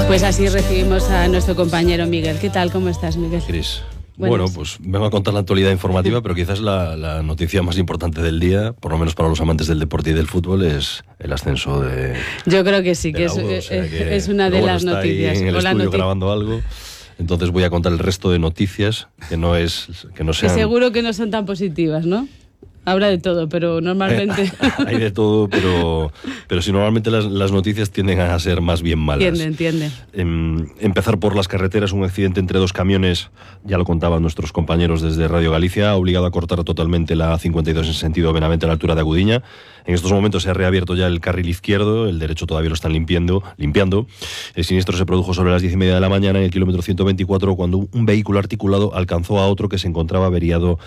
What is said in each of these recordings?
Pues así recibimos a nuestro compañero Miguel. ¿Qué tal? ¿Cómo estás, Miguel? Cris. Bueno, pues vengo a contar la actualidad informativa, pero quizás la noticia más importante del día, por lo menos para los amantes del deporte y del fútbol, es el ascenso de... Yo creo que sí, que es una de las noticias. Está ahí en el estudio grabando algo. Entonces voy a contar el resto de noticias, que no sean... Que seguro que no son tan positivas, ¿no? Habrá de todo, pero normalmente... Hay de todo, pero si normalmente las noticias tienden a ser más bien malas. Entiende. Empezar por las carreteras, un accidente entre dos camiones, ya lo contaban nuestros compañeros desde Radio Galicia, ha obligado a cortar totalmente la A52 en sentido Benavente a la altura de Agudiña. En estos momentos se ha reabierto ya el carril izquierdo, el derecho todavía lo están limpiando. El siniestro se produjo sobre las 10:30 de la mañana en el kilómetro 124, cuando un vehículo articulado alcanzó a otro que se encontraba averiado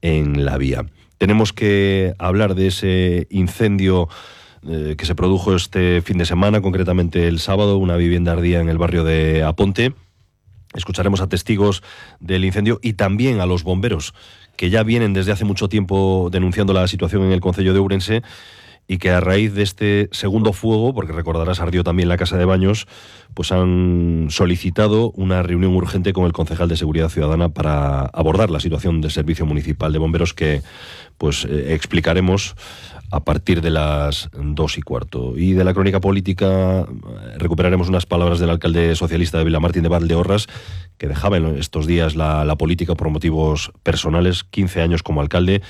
en la vía. Tenemos que hablar de ese incendio que se produjo este fin de semana, concretamente el sábado, una vivienda ardía en el barrio de Aponte. Escucharemos a testigos del incendio y también a los bomberos, que ya vienen desde hace mucho tiempo denunciando la situación en el concello de Ourense y que a raíz de este segundo fuego, porque recordarás ardió también la casa de baños, pues han solicitado una reunión urgente con el concejal de Seguridad Ciudadana para abordar la situación del Servicio Municipal de Bomberos, que pues explicaremos a partir de las 2:15. Y de la crónica política recuperaremos unas palabras del alcalde socialista de Vilamartín de Valdeorras, que dejaba en estos días la política por motivos personales, 15 años como alcalde.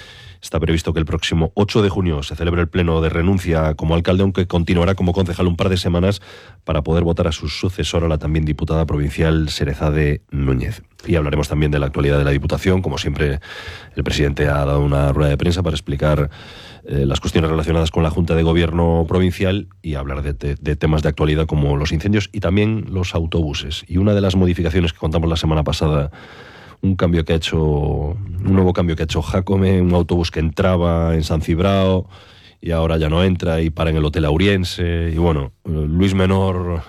Está previsto que el próximo 8 de junio se celebre el pleno de renuncia como alcalde, aunque continuará como concejal un par de semanas para poder votar a su sucesora, la también diputada provincial Serezade Núñez. Y hablaremos también de la actualidad de la Diputación. Como siempre, el presidente ha dado una rueda de prensa para explicar las cuestiones relacionadas con la Junta de Gobierno provincial y hablar de temas de actualidad como los incendios y también los autobuses. Y una de las modificaciones que contamos la semana pasada, un nuevo cambio que ha hecho Jácome, un autobús que entraba en San Cibrao y ahora ya no entra y para en el Hotel Auriense. Y bueno, Luis Menor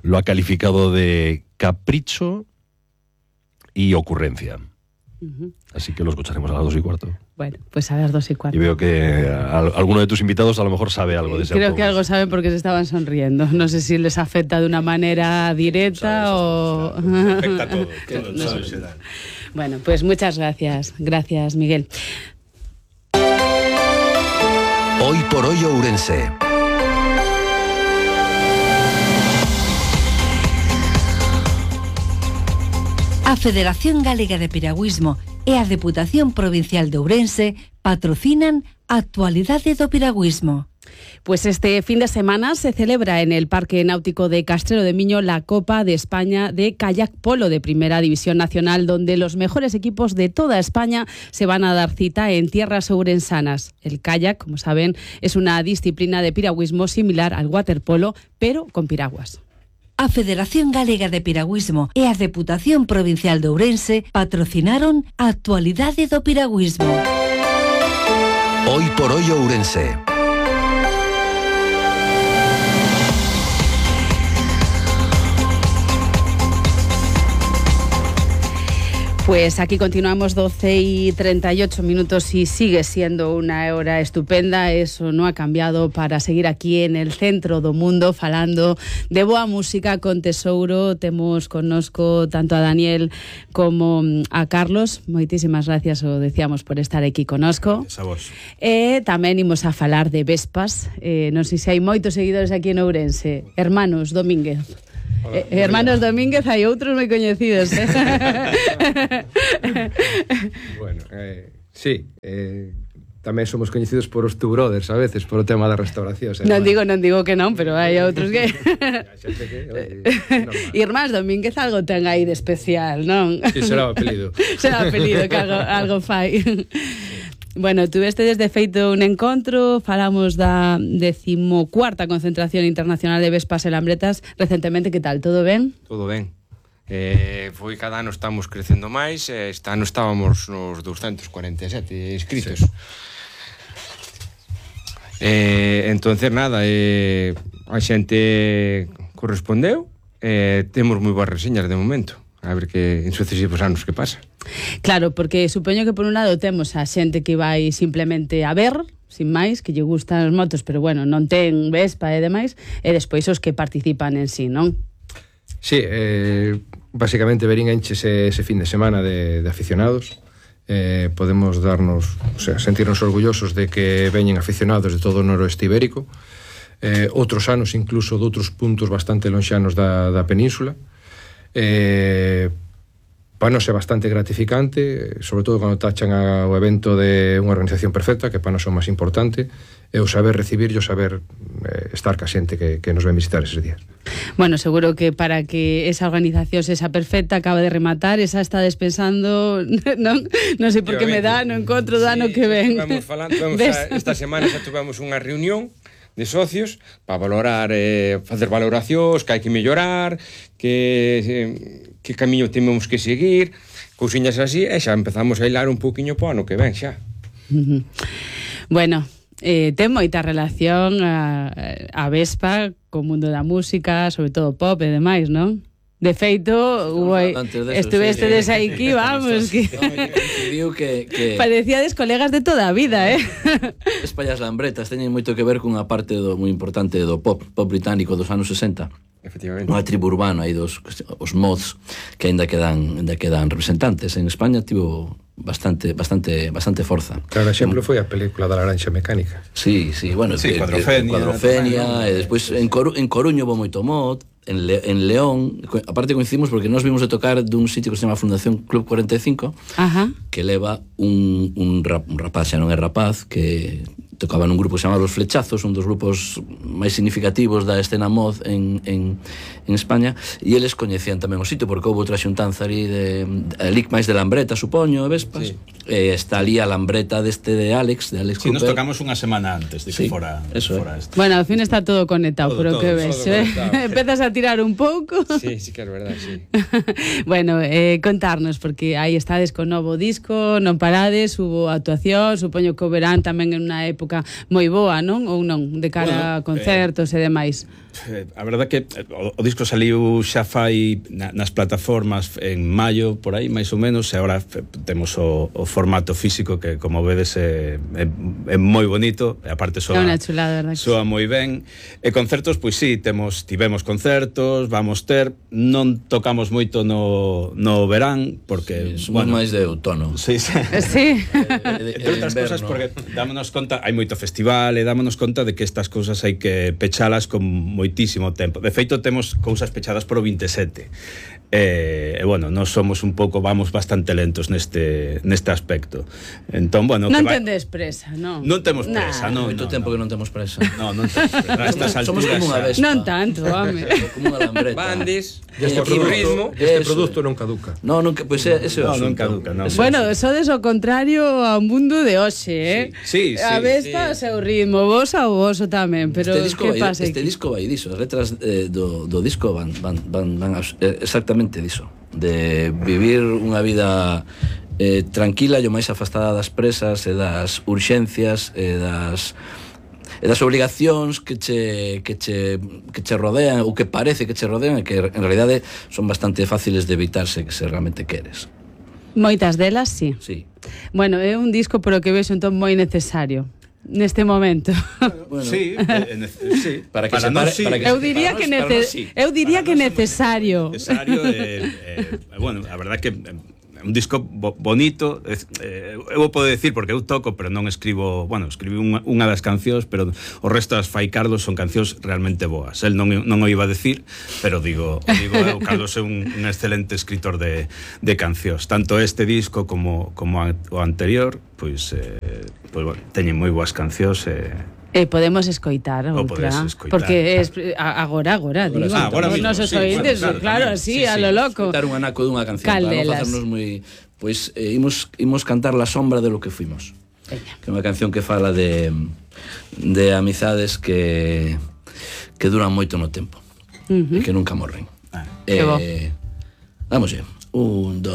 lo ha calificado de capricho y ocurrencia. Así que lo escucharemos a las 2:15. Bueno, pues a las 2:15. Y veo que alguno de tus invitados a lo mejor sabe algo de ese Creo autobús. que algo saben porque se estaban sonriendo. No sé si les afecta de una manera directa o... Afecta a todo. Bueno, pues muchas gracias. Gracias, Miguel. Hoy por hoy Ourense. A Federación Galega de Piragüismo e a Deputación Provincial de Ourense patrocinan a Actualidade do Piragüismo. Pues este fin de semana se celebra en el Parque Náutico de Castrelo de Miño la Copa de España de Kayak Polo de Primera División Nacional, donde los mejores equipos de toda España se van a dar cita en tierras ourensanas. El kayak, como saben, es una disciplina de piragüismo similar al waterpolo, pero con piraguas. A Federación Galega de Piragüismo e a Deputación Provincial de Ourense patrocinaron a Actualidade do Piragüismo. Hoy por hoy Ourense. Pues aquí continuamos 12:38 y sigue siendo una hora estupenda. Eso no ha cambiado para seguir aquí en el centro do mundo falando de boa música con tesouro. Temos connosco tanto a Daniel como a Carlos. Moitísimas gracias, o decíamos, por estar aquí connosco. Gracias a vos. Tamén imos a falar de Vespas. Non sei se hai moitos seguidores aquí en Ourense. Hermanos Domínguez. Hermanos Domínguez, hai outros moi coñecidos. Bueno, sí, tamén somos coñecidos por os Two Brothers a veces, por o tema da restauración. Non digo que non, pero hai outros que... Irmás Domínguez algo ten aí de especial, non? Sí, será o apelido. Será o apelido que algo fai. Bueno, tuveste desde feito un encontro, falamos da 14ª concentración internacional de Vespas e Lambretas recentemente. Que tal, todo ben? Todo ben. Foi cada ano estamos crecendo máis, este ano estábamos nos 247 inscritos. Sí. Entonces nada, a xente correspondeu, temos moi boas reseñas de momento. A ver que en sucesivos anos que pasa. Claro, porque supoño que por un lado temos a xente que vai simplemente a ver, sin máis, que lle gustan as motos, pero bueno, non ten Vespa e demais, e despois os que participan en sí, non? Sí, básicamente Verín enchese ese fin de semana de aficionados. Podemos darnos, o sea, sentirnos orgullosos de que veñen aficionados de todo o noroeste ibérico, outros anos incluso de outros puntos bastante lonxanos da península. Para nós é bastante gratificante, sobre todo cando tachan o evento de unha organización perfecta, que para nós é o máis importante, é o saber recibir e o saber estar ca xente que nos ven visitar eses días. Bueno, seguro que para que esa organización sexa perfecta, acaba de rematar, esa está despensando, non sei por que me dá, no encontro do ano que ven. Vamos falando, esta semana xa tuvemos unha reunión de socios para valorar, facer valoracións, que hai que mellorar, que camiño temos que seguir, cousiñas así, e xa empezamos a hilar un poquinho po ano que ven xa. Bueno, ten moita relación a Vespa co mundo da música, sobre todo pop e demais, non? De feito, estuvestedes aquí, vamos, que parecíades colegas de toda a vida, Espallas Lambretas teñen moito que ver cunha parte moi importante do pop británico dos anos 60. Efectivamente. Unha tribu urbana aí os mods que ainda quedan representantes. En España tivo bastante forza. Claro, exemplo foi a película da Laranxa Mecánica. Sí, bueno, sí, Cuadrofenia, e despois en Coruño houve moito mod, en León, aparte coincidimos porque nós vimos de tocar dun sitio que se chama Fundación Club 45, que leva un rapaz, xa non é rapaz, que tocaba nun grupo que se chama Los Flechazos, un dos grupos máis significativos da escena mod en España, e eles coñecían tamén o sitio porque houve outra xuntanza ali de Lic máis de Lambreta, supoño, e Vespas. Está ali a Lambreta de Alex Sí, nos tocamos unha semana antes de que fora este. Bueno, ao fin está todo conectado, pero que ves, empezas a tirar un pouco. Sí, que é verdade, sí. Bueno, contarnos, porque aí estades con novo disco, non parades, hubo actuación, supoño que o verán tamén en unha época moi boa, non? Ou non, de cara a concertos e demais. A verdade que o disco saliu xa fai nas plataformas en maio, por aí, máis ou menos, e agora temos o formato físico que, como vedes, é moi bonito, e aparte soa moi ben. E concertos, pois sí, tivemos concertos, vamos ter, non tocamos moito no verán, porque somos máis de outono. Sí. Entre outras cosas, porque dámonos conta, hai moito festival, e dámonos conta de que estas cousas hai que pechalas con moitísimo tempo. De feito, temos cousas pechadas por o 27. E bueno, nós somos un pouco, vamos bastante lentos neste aspecto. Entón, bueno, non tendes presa, non? Non temos presa, non. Moito tempo que non temos presa. Non temos presa. A estas alturas somos como unha Vespa. Non tanto, home. Como unha Lambreta. Bandis, ritmo. Este produto non caduca. Non, pois ese non caduca, non. Bueno, sodes o contrario ao mundo de hoxe, Sí. A Vespa o seu ritmo, vos ao voso tamén, pero que pasa? Este disco vai diso, as letras do disco van exactamente diso, de vivir unha vida tranquila e o máis afastada das presas e das urxencias e das obligacións que che rodean ou que parece que che rodean e que en realidade son bastante fáciles de evitarse que se realmente queres. Moitas delas, sí. Bueno, é un disco polo que vexo entón moi necesario neste momento. Bueno, sí. Para que eu diría que necesario. Bueno, a verdade que un disco bonito, eu podo decir porque eu toco, pero non escribo, escribí unha das cancións, pero o resto das fai Carlos, son cancións realmente boas. El non o iba a decir, pero digo Carlos é un excelente escritor de cancións. Tanto este disco como o anterior, pois teñen moi boas cancións podemos escoitar outra, porque agora digo, os nosos ointes, claro, así, a lo loco. Escoitar un anaco dunha canción para non facernos moi... Pois imos cantar La sombra de lo que fuimos, que é unha canción que fala de amizades que duran moito no tempo e que nunca morren. Vamos, 1, 2